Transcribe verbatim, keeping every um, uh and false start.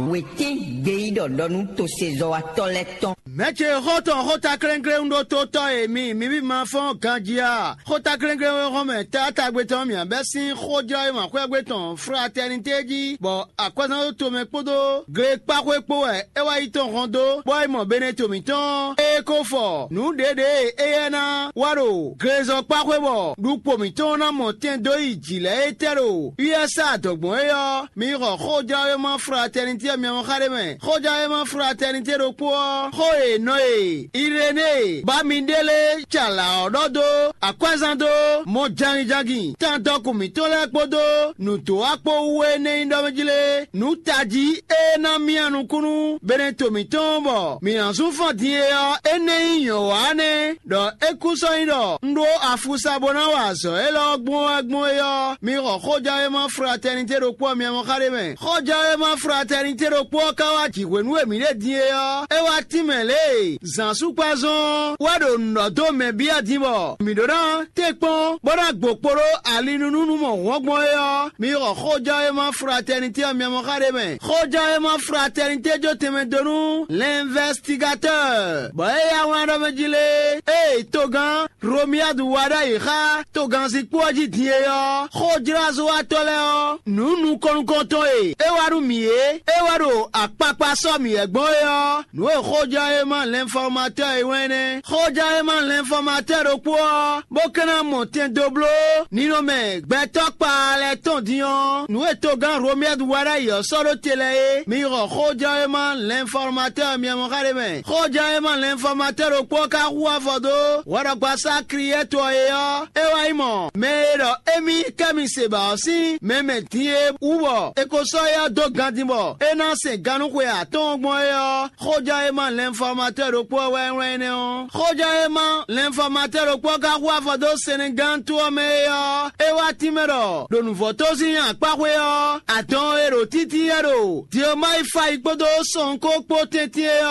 Wětín gbeyíɖɔ ɖɔ nú tosezɔ́watɔ́ lɛ́ɛ tɔn. Mɛ̌ ce xɔ́ntɔn xótaklɛ́nklɛ́n ɖótótɔ́ e mi mi ví ma fɔ́n ganjí a? Xótaklɛ́nklɛ́n e hɔn mɛ taátagbe tɔn mǐ bɛ́ sín xójlɔ́yímɔ xwɛ́gbe tɔn fratɛnité jí, bɔ akwɛ́zánɖótó mɛ kpódó glekpáxwé kpó wɛ é wá yi tɔn hɔn dó, bɔ é mɔ Beneto mǐtɔn e ko fɔ nǔ ɖěɖě e éyɛ́ ná wá ɖo glezɔ́kpáxwé bɔ ɖukpo mǐtɔn ná mɔ tɛn dó yi jǐ lɛ́ɛ é tɛ́ ɖo U S A adɔ̌gbɔn é ɔ́, mi xɔ xójlɔ́yímɔ fratɛnité ɔ́ mɛ ɔ́ xa ɖé mɛ. Xójlɔ́yímɔ fratɛnité ɖokpó ɔ́, xó e nɔ e Irenée ba mi ɖe lé ca lǎ ɔ́ ɖɔ dó akwɛ́zán dó mɔ jangin-jangin tán dɔkun mǐtɔn lɛ́ɛ kpódó nǔdó akpó wú énɛ́ nyí ɖɔ mɛ jí lé, nǔ tají e ná myá nukúnnú Beneto mǐtɔn bɔ mǐ ná zún fɔ́n din é ɔ́, énɛ́ nyí nyɔ̌ wa nɛ́, ɖɔ é kú sɔ́ nyí ɖɔ un ɖó afusa bó ná wa azɔ̌ élɔ́ gbɔn wɛ gbɔn é ɔ́, mi xɔ xójɛ́wéma fratɛnité ɖokpó ɔ́ myɛ mɔ xá ɖé mɛ. Xójɛ́wéma fratɛnité ɖokpó ɔ́ ka wá jǐ hwenu e mǐ ɖe din é ɔ́, é wá tínmɛ lě e zǎnsúkpázɔn ɔ́ wɛ ɖo nǔ ɖɔ dó mɛ byɔ́ din bɔ mǐ ɖó ná tɛ́nkpɔ́n bó ná gbo kpo ɖó ali nú nú mɔ hɔn gbɔn é ɔ́, mi xɔ xójɛ́wéma fratɛnité ɔ́ myɛ mɔ xá ɖé mɛ. Xójɛ́wéma fratɛnité jó tɛnmɛ dó nú l'investigateurs, bɔ é yá wlán ɖɔ mɛ jí lé, ée togán Romiadu wá ɖ'ayǐ xá togánzikpó ɔ́ jí din é ɔ́, xójlázɔ́watɔ́ lɛ́ɛ ɔ́, nǔ nukɔn nukɔntɔn e é wá nú mǐ é, é wá ɖo akpakpa sɔ́ mǐ wɛ gbɔn é ɔ́, nǔ e xójɛ́wéma l'infɔmatɔ́ e wɛn nɛ́. Xójɛ́wéma l'infɔmatɔ́ ɖokpó ɔ́, bó ka ná mɔ tɛn dó bló ninɔmɛ gbɛtɔ́ kpaa lɛ́ɛ tɔn din ɔ́, nǔ e togán Romiadu wá ɖ'ayǐ ɔ́ sɔ́ ɖó te lɛ́ɛ é, mi xɔ xójɛ́wéma l'infɔmatɔ́ myɛ mɔ xá ɖé mɛ. Xójɛ́wéma l'infɔmatɔ́ ɖokpó ɔ́ ka hu afɔ dó hwɛɖɔgbasá Kliyɛ́tɔ e ɔ́, é wá nyí mɔ̌. Mɛ e ɖɔ émí kɛ́ mi se ba ɔ́ sín mɛ mɛ din e wú bɔ è ko sɔ́ éyɛ́ dó gandin bɔ é ná sɛn gannúxwe atɔ́ɔ́n gbɔn é ɔ́, xójɛ́wéma l'infɔmatɔ́ ɖokpó ɔ́ wɛ wlán énɛ́ ɔ́. Xójɛ́wéma l'infɔmatɔ́ ɖokpó ɔ́ ka hu afɔ dó Sɛnɛgántú ɔ́ mɛ é ɔ́, é wá tínmɛ ɖɔ ɖo nǔvɔ́tozín akpáxwé ɔ́, adɔn e ɖo títí é ɖo Diyomáyifayi kpódó sɔnkó kpó tɛ́ntin é ɔ́,